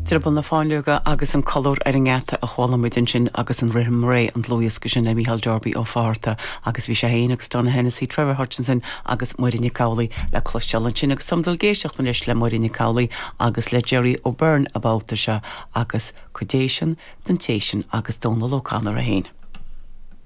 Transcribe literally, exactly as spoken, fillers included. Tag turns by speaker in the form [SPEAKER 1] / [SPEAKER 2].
[SPEAKER 1] Drioball na Fáinleoige agus an colúr ar an ngeata a chuala muid ansin agus an rithim réidh an dlúthdhiosca sin le Micheál Darby Ó Fátharta agus bhí sé féin agus Donogh Hennessy, Trevor Hutchinson agus Muireann Nic Amhlaoibh le cloisteáil ansin agus táim ag éisteacht anois le Muireann Nic Amhlaoibh agus le Jerry O'Byrne an babhta seo agus cuid den téisin agus Dónal O'Connor a haon.